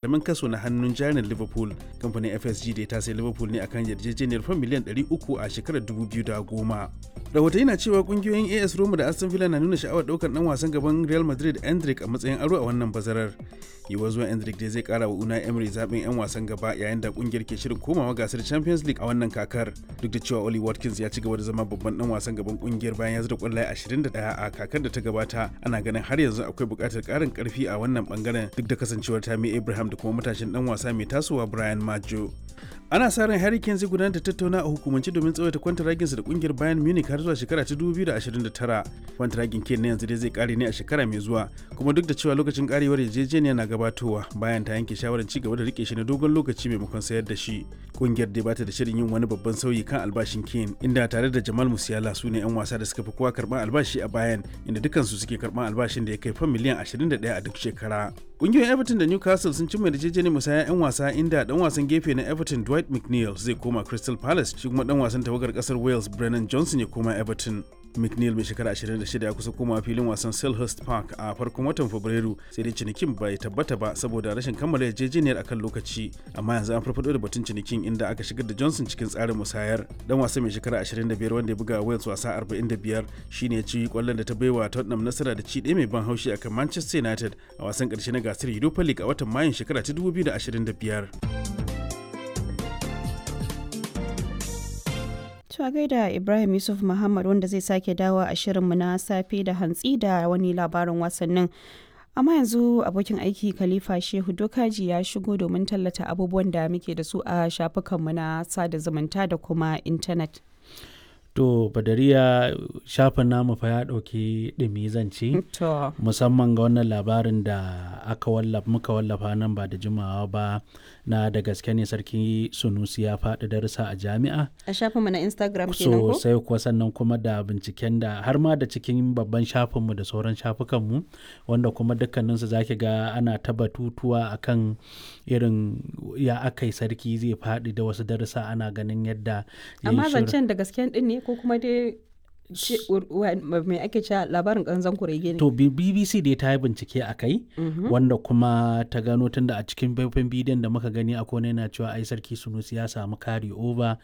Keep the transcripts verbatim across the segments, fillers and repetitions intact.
Karamin kaso na hannun jarin Liverpool. Kamfanin F S G da ta sai Liverpool ne akan yarjejeniyar fam miliyan ɗari uku a shekarar dubu biyu da goma. Rahotanni na cewa kungiyoyin A S Roma da Aston Villa na nuna sha'awar daukar dan wasan gaban Real Madrid Endrick a matsayin aro a wannan bazarar. Yiwuwar zuwan Endrick dai zai kara wa Unai Emery zaɓin 'yan wasan gaba yayin da kungiyar ke shirin komawa gasar Champions League a wannan kakar. Duk da cewa Oli Watkins ya ci gaba da zama babban dan wasan gaban kungiyar bayan ya zura kwallaye ashirin da ɗaya a kakar da ta gabata, ana ganin har yanzu akwai buƙatar ƙarin ƙarfi a wannan bangaren, duk da kasancewar Tammy Abraham da kuma matashin dan wasa mai tasowa Brian Maggio. Ana sa ran Harry Kane zai gudanar da tattauna a hukumance domin tsawaita kwantaraginsa da kungiyar Bayern Munich har zuwa shekara ta dubu biyu da ashirin da tara. Kwantaragin Kane na yanzu dai zai kare ne a shekara mai zuwa, kuma duk da cewa lokacin karewar yarjejeniya na gabatowa, bayan ta yanke shawarar ci gaba da rike shi na dogon lokaci maimakon sayar da shi. Kungiyar dai bata da shirin yin wani babban sauyi kan albashin Kane, inda tare da Jamal Musiala su ne 'yan wasa da suka fi kowa karban albashi a Bayern, inda dukansu suke karban albashin da ya kai fam miliyan ashirin da ɗaya a duk shekara. Kungiyoyin Everton da Newcastle sun cimma yarjejeniyar musayar 'yan wasa, inda dan wasan gefe na Everton Dwight McNeil zai koma Crystal Palace, shi kuma dan wasan tawagar kasar Wales Brennan Johnson ya koma Everton. McNeil mai shekara ashirin da shida ya kusa koma filin wasan Selhurst Park a farkon watan Fabrairu, sai dai cinikin bai tabbata ba saboda rashin kammala yarjejeniyar akan lokaci. Amma yanzu an farfado da batun cinikin, inda aka shigar da Johnson cikin tsarin musayar. Dan wasan mai shekara ashirin da biyar, wanda ya buga Wales wasa arba'in da biyar, shine ya ci kwallon da ta baiwa Tottenham nasara da ci ɗaya mai ban haushi akan Manchester United a wasan ƙarshe na gasar Europa League a watan Mayun shekara ta dubu biyu da ashirin da biyar. To a gaida Ibrahim Yusuf Muhammad, wanda zai sake dawo a shirinmu na safe da hantsi da wani labarin wasannin. Amma yanzu abokin aiki Khalifa Shehu Dokaji ya shigo domin tallata abubuwan da muke da su a shafukanmu na sada zumunta da kuma intanet. To Badariya, shafin namu fa ya ɗauki ɗumi zance. To. Musamman ga wannan labarin da aka wallafa, muka wallafa nan ba da jimawa ba, na da gaske ne Sarki Sunusi ya faɗi darussa a jami'a. A shafinmu na Instagram kenan ko? Sosai kuwa. Sannan kuma da binciken da har ma da cikin babban shafinmu da sauran shafukanmu, wanda kuma dukkaninsu zaki ga ana ta batutuwa akan irin ya aka yi sarki zai faɗi da wasu darussa, ana ganin yadda ya yi Amma shirin. zancen da gasken din ne ko kuma dai me ake cewa, labarin ƙanzon kurege ne? To B- BBC dai ta yi bincike a kai, wanda kuma ta gano, tunda a cikin faifan bidiyon da muka gani akwai wani yana cewa ai Sarki Sunusi ya samu carry over,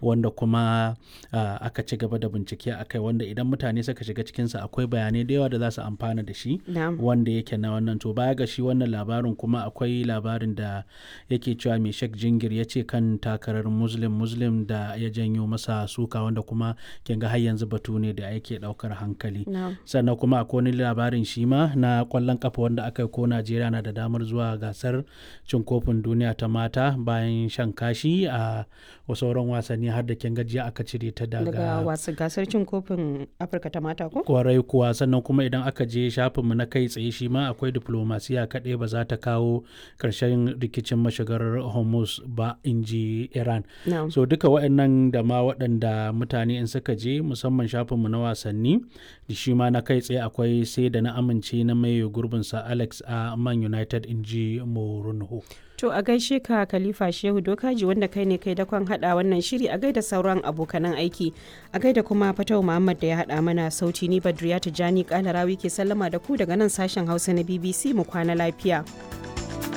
wanda kuma ah, aka ci gaba da bincike a kai, wanda idan mutane suka shiga cikinsa akwai bayanai da yawa da za su amfana da shi. Na'am. Wanda yake na wannan. To baya ga shi wannan labarin, kuma akwai labarin da yake cewa mai Sheikh Jingir ya ce kan takarar Muslim Muslim da ya janyo masa suka, wanda kuma kin ga har yanzu batu ne da yake daukar hankali. Na'am. Sannan kuma akwai wani labarin shi ma na kwallon kafa wanda aka yi ko Najeriya na da damar zuwa gasar cin kofin duniya ta mata bayan shan kashi a sauran wasanni, har da kin gajiya aka cire ta Daga wasu gasar cin kofin Afirka ta mata ko? Kwarai kuwa. Sannan kuma idan aka je shafinmu na kai tsaye, shi ma akwai diplomasiya kaɗai ba za ta kawo ƙarshen rikicin mashigar Hormuz ba, in ji Iran. Na'am. So duka waɗannan da ma waɗanda mutane in suka je musamman shafinmu na wasanni da shi ma na kai tsaye, akwai sai da na amince na maye gurbinsa Alex a Man United, in ji Mourinho. To a gaishe ka Khalifa Shehu Dokaji, wanda kai ne kai dakon hada wannan shiri. A gaida sauran abokanan aiki. A gaida kuma Fatau Muhammad da ya hada mana sauti. Ni Badriya Tijani Kalarawi ke sallama da ku daga nan sashen Hausa na B B C. Mu kwana lafiya.